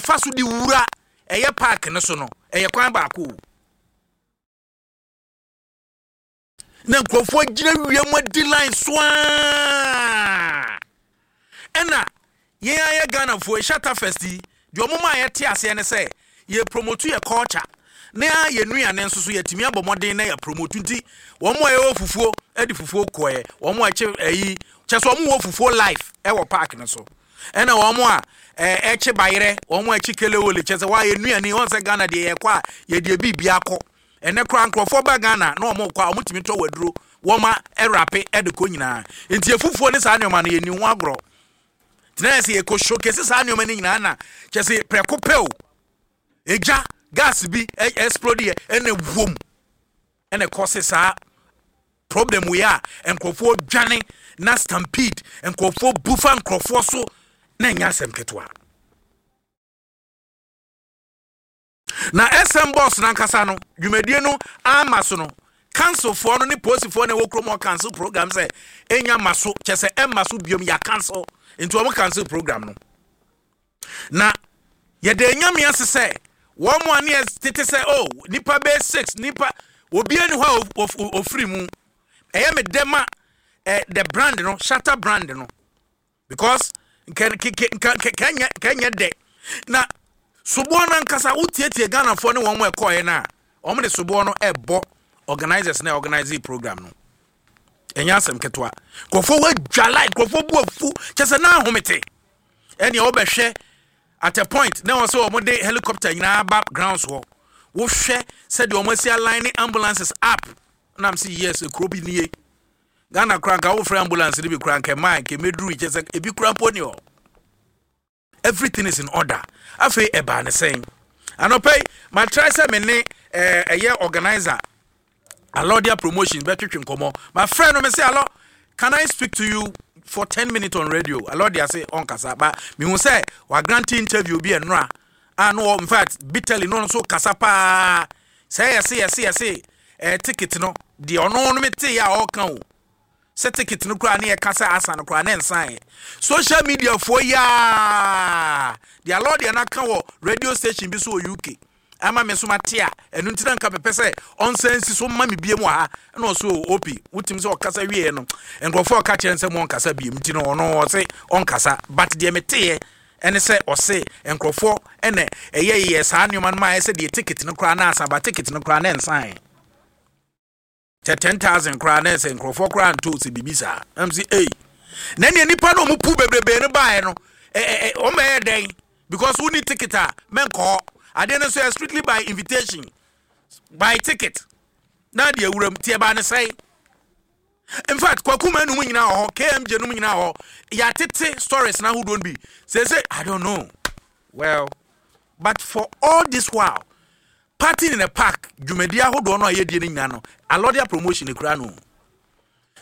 yɛfa so de wura ɛyɛ park no so no, ɛyɛ kwan baako o. Na nkurɔfoɔ gyina wia mu adi line so aa. Ɛna yɛn ayɛ Ghanafoɔ Shatta Fest yi deɛ, ɔmo maa yɛte aseɛ ne sɛ yɛ promote yɛ culture na yɛ nnuane nso so yɛtumi abɔ mmɔden na yɛ promote. Nti wɔn a yɛwɔ fufuo de fufuo kɔɛ, wɔn a ɛkye ɛyi kyɛ sɛ wɔn wɔ fufuo life ɛwɔ park no so, ɛna wɔn a ɛkye bayerɛ, wɔn a ɛkye kelewele, kyɛ sɛ wɔayɛ nnuane wɔn sɛ Ghana deɛ, yɛkɔ a yɛde ebi bi akɔ. Ɛnɛ koraa nkurɔfoɔ ba Ghana na wɔn kɔ a, wɔn tumi tɔ waduro, wɔn a ɛrape ɛde kɔ nyinaa. Nti efufuo ne saa nneɛma no, yɛni ho agorɔ. Tena yɛ sɛ yɛkɔ showcase saa nneɛma no nyinaa na kyɛ sɛ prɛko pɛ o, egya gas bi explode yɛ, ɛna wom ɛna ɛkɔ se saa problem wei a nkurɔfoɔ dwane na stampede, nkurɔfoɔ bu fa nkurɔfoɔ so na ɛnyɛ asɛm ketewa. Na SM boss nankasa no, dwumadie no ama so no, councilfoɔ no ne polisifoɔ na ɛwɔ kurom hɔ cancel program sɛ ɛnya ma so, kyɛ sɛ ɛma so biom, yɛ cancel. Nti wɔn cancel program no na yɛde Nyame ase sɛ wɔn mo a ne yɛ tete sɛ oh, nipa bɛyɛ six nipa, obiara ni hɔ a ofiri mu. Ɛyɛ me dɛ ma the brand no, Shatta brand no, because nka nka nka kɛnyɛ dɛ na soboɔ no ankasa wotietie Ghanafoɔ ne wɔn mo ɛkɔɔɛ no a, wɔn de soboɔ no ɛbɔ organisers na organize program no. Ɛnyɛ asɛm ketewa. Nkurɔfoɔ wadwa line, nkurɔfoɔ bu afu, kyɛ sɛ na ahomete. Ɛnea wɔbɛhwɛ at a point na wɔn sɛ wɔn de helicopter nyinaa ba grounds hɔ, wohwɛ sɛdeɛ wɔn asi align ne ambulances up nam sɛ yes, ekuro bi nie. Ghana koraa nka wofrɛ ambulance no bi koraa nka mmaa nka emeduru, kyɛ sɛ ebi koraa mpo ni hɔ. Everything is in order. Afei ɛbaa ne sɛn anɔpɛ yi, ma try sɛ me ne ɛyɛ organizer Alordia Promotions bɛtwetwe nkɔmmɔ. Ma frɛ no, me sɛ, "Alɔ, can I speak to you for 10 minutes on radio?" Alordia sɛ ɔnkasa, ba mehu sɛ wagrant interview bi ɛnora a no, in fact bitterly no, ɔno nso kasa paa sɛ yɛse ticket no deɛ, ɔno no mete yɛ a ɔka o sɛ ticket no koraa ne yɛka sɛ asa no koraa ne nsan social media foɔ yaa deɛ Alordia no aka wɔ radio station bi so wɔ UK ama me nso mate a, ɛno nti na nka mepɛ sɛ ɔnsan nsi so ma me biem wɔ ha. Ɛna ɔso opi wotumi sɛ ɔkasa wieɛ no, nkurɔfoɔ ɔka kyerɛ sɛ mo ɔnkasa biem, nti no ɔno ɔse ɔnkasa. But deɛ meteeɛ ɛne sɛ ɔse nkurɔfoɔ ɛna ɛyɛ yɛ saa nneɛma no ma ayɛ sɛ deɛ ticket no koraa na asa ba, ticket no koraa na nsan kyɛ 10,000 koraa na ɛsɛ nkurɔfoɔ koraa nto sɛ biribi saa. Ɛm sɛ ei, na nea nipa no ɔmo pu bebrebe no baeɛ no, ɛ ɛ ɔmo bɛyɛ dɛn? Because wo ni ticket a, mɛnkɔ hɔ. Adeɛ no nso yɛ strictly by invitation, by ticket na deɛ awuram tie baa ne sɛn. In fact, Kwakuma num nyinaa wɔ hɔ, KMJ num nyinaa wɔ hɔ. Yɛatete stories na ahodoɔ no bi sɛ I don't know well, but for all this while, Party in the Park dwumadi ahodoɔ no a yɛdie no nyinaa no, Alordia Promotion kura no.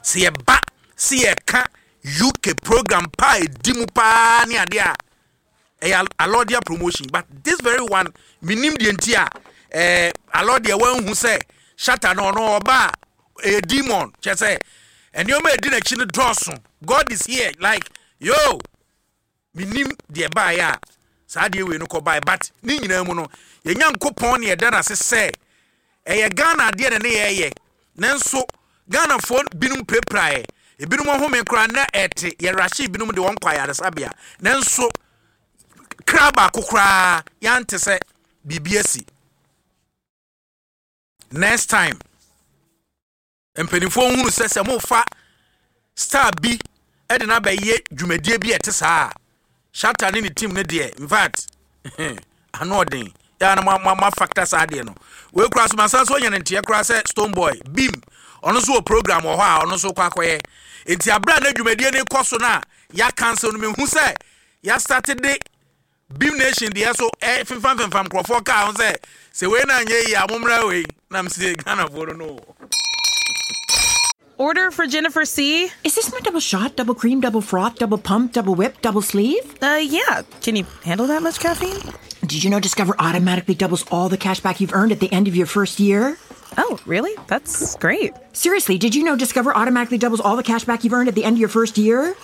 Sɛ yɛba sɛ yɛka UK program pa a ɛdi mu paa ne adeɛ a, ɛyɛ Alordia Promotion. But this very one, menim deɛ nti a Alordia wanhu sɛ Shatta no, ɔno ɔba a, ɛyɛ demon, kyɛ sɛ nneɛma a ɛdi n'akyi no dɔɔso. God is here, like yo, menim deɛ baeɛ a saa deɛ wei no kɔ baeɛ. But ne nyinaa mu no, yɛnya Nkopɔn ne yɛda n'ase sɛ ɛyɛ Ghana adeɛ na ne yɛyɛ. Nanso Ghanafoɔ binom pirapiraeɛ, ebinom ɔhome koraa na ɛte yɛrahye, binom de wɔn kɔ ayaresabea, nanso kra baako koraa yɛante sɛ biribi asi. Next time, mpanimfoɔ hunu sɛ mofa star bi ɛde no abɛyɛ dwumadie bi a ɛte saa a, Shatta ne ne team no deɛ, in fact, ano ɔden yɛa na ma factor saa adeɛ no wei koraa so. Masan so anya ne nteɛ koraa sɛ Stonebwoy Bim, ɔno nso wɔ program wɔ hɔ a ɔno nso kɔ akɔyɛ. Nti abere a na dwumadie no kɔ so no a yɛ cancel no, mehu sɛ yɛastart de Bhim Nation deɛ so femfam femfam nkurɔfoɔ kaa ho sɛ wei na anyɛ yi a, mommra wei nam sɛ Ghanafoɔ no. Order for Jennifer C. Is this my double shot, double cream, double froth, double pump, double whip, double sleeve? Yeah. Can you handle that much caffeine? Did you know Discover automatically doubles all the cash back you've earned at the end of your first year? Oh, really? That's great. Seriously, did you know Discover automatically doubles all the cash back you've earned at the end of your first year?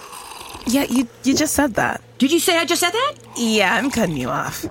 Yeah, you just said that. Did you say I just said that? Yeah, I'm cutting you off.